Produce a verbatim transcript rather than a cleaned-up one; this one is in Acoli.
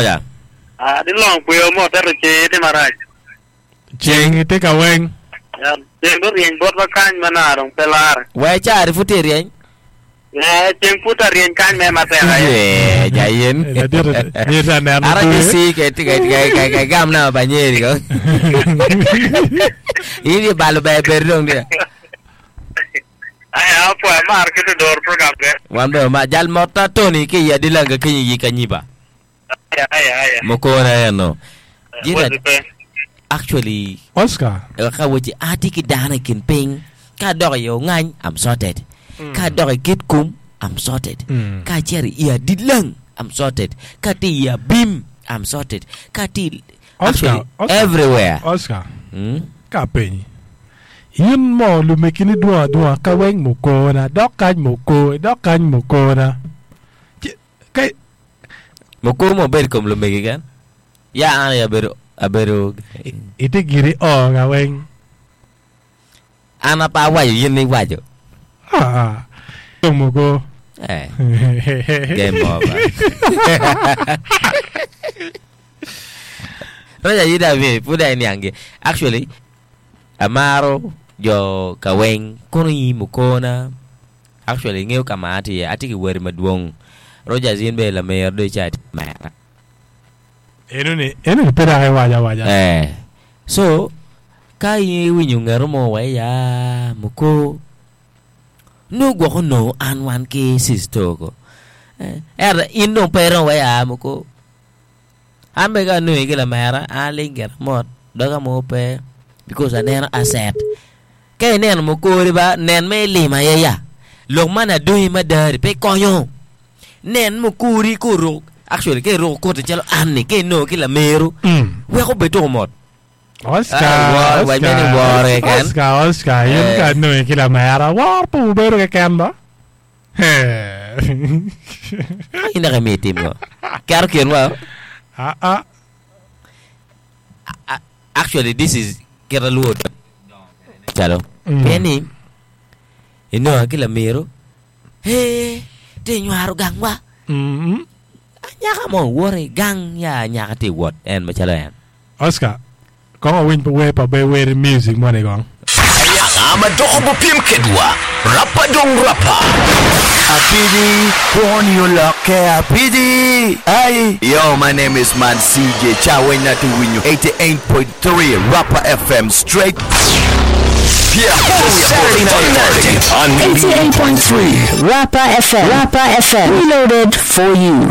Roger. Ah, di long kwe mo teto che te marach. Ceng ite ka weng. Ya, ceng do rieny bot ba kany mana dong pe lar. We cari pud tye ryeny. Eh, ceng pud ta ryeny kany me matek aye. Eh, jayen. Ladit ni ta neno Ara dwe. si ke ti ke ke ke ke gam na ba nyeri ko. Ini balo be ber dong dia. Ay, apo mar kitu dor program ke. Wan be ma jal mota Tony ki ya dilanga kinyi yi kanyiba. Aya, aya, aya. Mokona eno. Jira Wazi pe. actually Oscar. ka weche ati ki dano i kin piny ka dok i ongany I'm sorted ka dok i Kitgum I'm sorted Mm. ka acito i Adilang I'm sorted ka tye i Abim I'm sorted ka tye Oscar, actually Oscar. everywhere Oscar. Mm? Ka penyi. In mo lumekini dwong adwonga ka weng mukona dok kany muko dok kany mukona. Ci- Ka mukuru mo bedo kom lumegi kan ya an aye abedo abedo ite giri o ka weng. an apa awaco yin ni iwaco Ah ah. Dong muko. eh game over Roger yida mi pud ai niangi actually amaro jo ka weng kono i mukona actually ngeo ka ma atye iye atye ki weri madwong Rogers in be lamer do ica atye mera Eno ni eno ni pe dok iwaco awaca. eh so ka in iwinyo ngero mo wa ya muko no gwoko no an wan ki sister ko eh ento in dong pe iromo wa ya muko an be ka anongi ki lamera an aling gira mot doga mo pe because aneno asset ka ineno mukori ba nen me ilimo aye ya lok man adongi madari pe konyo nen mukuri kuruko actually ka iruko koti calo an ni ka inongo ki lameru Mm. weko bed tuko mot Oscar, Ah, wor- wach meni wor keken. Oscar, Oscar, in Eh. ka nongi ki lamera, wor pe wubedo keken ba? in dok imiyo itim ngo keto kinwa Ah, ah. A- actually this is kita luo calo Mm. pien ni inongo ki lameru he ti nywaro gangwa Mm. anyaka mo woto i gang ya anyaka ti wot en macalo en Oscar, kong awiny pa wer pa be wer music moni kong. Anga ma doko bupiem kedwa Rapper dong rapper Apidi, poni oloke apidi. Ay. Yo, my name is Man C J Chawenya to win you eighty-eight point three Rapper F M straight. Yeah, Saturday Night Party on eighty-eight point three Rapper F M. Rapper F M. Reloaded for you.